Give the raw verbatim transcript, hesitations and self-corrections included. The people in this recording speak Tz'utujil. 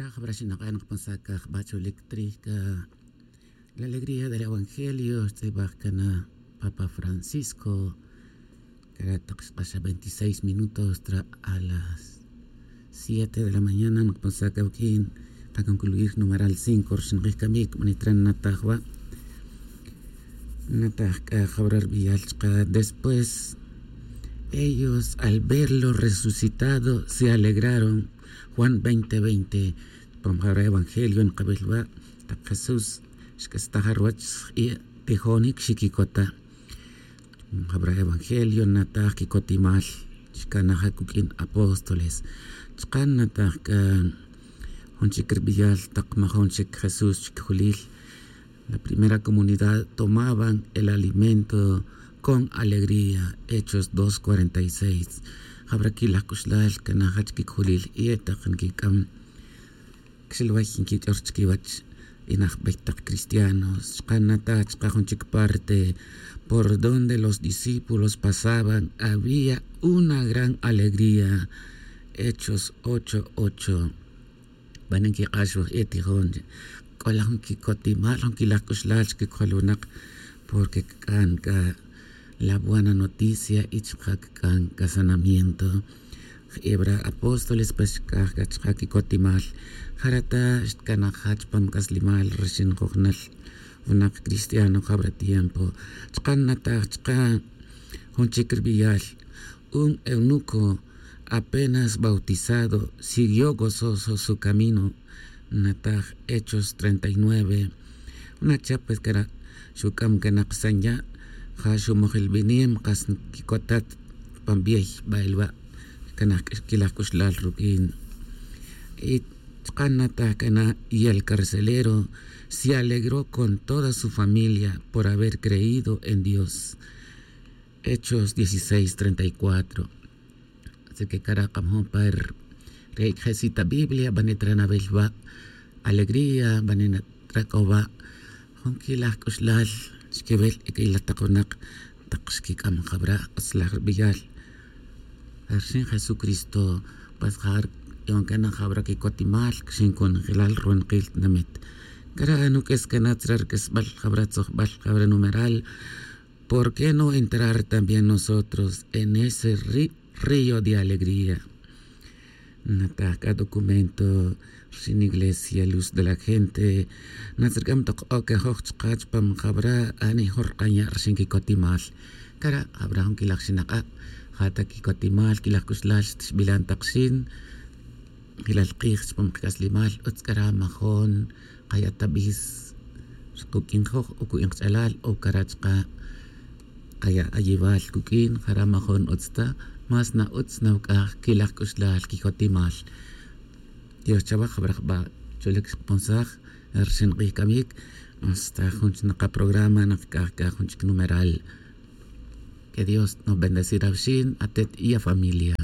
Jabra xinak'a' nakaponsaj c'a jba' cholic trij c'a la alegría del evangelio xtz'ibaj cana papa francisco. Cara' tak xk'axa veintiséis minutos tra a las siete de la mañana nakaponsaj c'a waquin. Kaconcluir numeral cinco rxin kij camic manitra nataj wa'. Nataj c'a jabra rbiyal chka después ellos al verlo resucitado se alegraron. Juan veinte veinte. Pam jabra evangelio nkabel wa' tak jesús xk'astaj ruwach xk'e' tijonic xiquicota. Jabra evangelio nataj quicotimal xcanaja cuq'uin apóstoles. Chka' nataj c'a jun chic rbiyal tak majon chic jesús chquijulil. La primera comunidad tomaban el alimento con alegría. Hechos dos cuarenta y seis. Jabra quilaj c'uxlal cana jach quic'ulil y e tak nquic'am cxilway nquich'or chiquiwach. Y najbey tak cristianos chka' nata chka' jun chic parte por donde los discípulos pasaban había una gran alegría. Hechos ocho ocho. Bani nquik'ax waj e tijon c'o la jun quicotimal jun quilaj c'uxlal chquicojol winak. Porque cc'an c'a la buena noticia y chka' cc'an c'a sanamiento. Jebra apóstoles pues xc'aj c'a chka' quicotimal. Jara' ta xtcanaj jach pam c'aslimal rixin jujnal winak cristiano jabra tiempo. Chka' nataj chka' jun chic rbiyal un eunuco apenas bautizado siguió gozoso su camino. Nataj hechos treinta y nueve. Una cha pues cara' xuc'am cana ksan ya' ja xumojel binem kas nquicotat. Pan biey ba'el wa' cana quilaj c'uxlal ruq'uin. Y chka' nataj cana y el carcelero se alegró con toda su familia por haber creído en dios. Hechos dieciséis treinta y cuatro. Así que cara' k'amajun pa re' cjesita biblia bani tra nawel wa' alegría bani tra c'o wa' jun quilaj c'uxlal xquiwel y quilaj tak winak tak xquic'am jabra' utzlaj rbiyal. Rxin jesucristo pues ja' c'on cana jabra quicotimal xin conjelal ruwinakil tinamit. Cara' nuq'ues cana tzra rq'uesbal jabra tzojbal jabra numeral. Por qué no entrar también nosotros en ese río de alegría? Nataj c'a documento rxin iglesia luz de la gente. Natzric'am tok ocajoj chka' chpam jabra' ani jun rkan ya' rxin quicotimal. Cara' jabra' jun quilaj xinak'a' ja ta quicotimal quilaj c'uxlal xtixbilan tak xin. Jilal kij chpam kac'aslimal utz c'ara' majon kaya' ta bis. Kuq'uin joj o kuq'uin kach'alal o cara' chka' kaya' ayibal kuq'uin jara' majon utz ta. Más na utz nawc'aj quilaj c'uxlal quicotimal. Dios chawaj jabra' jba' cholic xkaponsaj rxin k'ij camic. Hasta jun chnak kaprograma nakc'aj c'a jun chic numeral. Que dios nos bendecir awxin atet y afamilia.